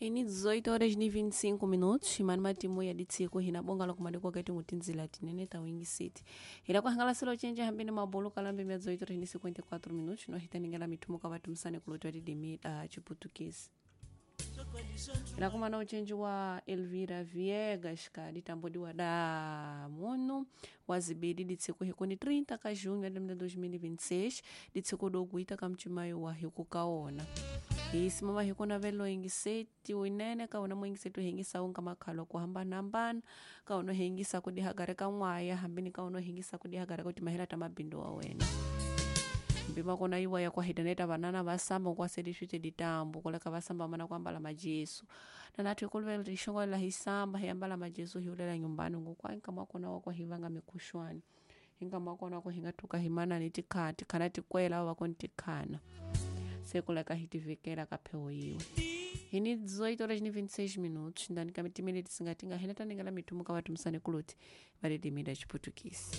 Ini 18 horas ni 25 minutos imani matimu ya ditsiko hina bonga la kumadiko kati ngutinzila tinene ta wingi city hila kuhangalasela ochenje hambini mabolo kalambe mia 18 horas ni 54 minutos no hitaningela mithumo ka vatumisane kulotwa didimi chiputukisi ila kumana uchenji wa Elvira Viegas ka ditambodiwa da munu wazibidi ditsiko hikuni 30 ka junho de 2026 ditsiko dokuita ka mchimayo wa hikukaona isi mama hikuna velo ingiseti winene kaona muingiseti uhingisa unga makhalo kuhambanahambana kaona uhingisa kudihagare ka n'waya hambini kaona uhingisa kudihagare kuti mahela ta mabindo wa wena mpima kona iwa ya kwahidaneta vanana vasamba nkwasedi swite ditambo koleka vasamba mana kuambala majesu nanathu ikuluvela tixongolela hisamba hiyambala majesu hiulela nyumbani ngokwa nkama kona wakwa hivanga mikuxwani hinkama kona wako hingathuka himana ni tikhana tikhana tikwela avo vakoni tikhana sekuleka hitivikela ka pheho yiwe hini 18 horas ni 26 minutos ndani ka mitimili tisingatinga hina taningela mithumu ka vatumisane kuluti va didimi da chiputukisi.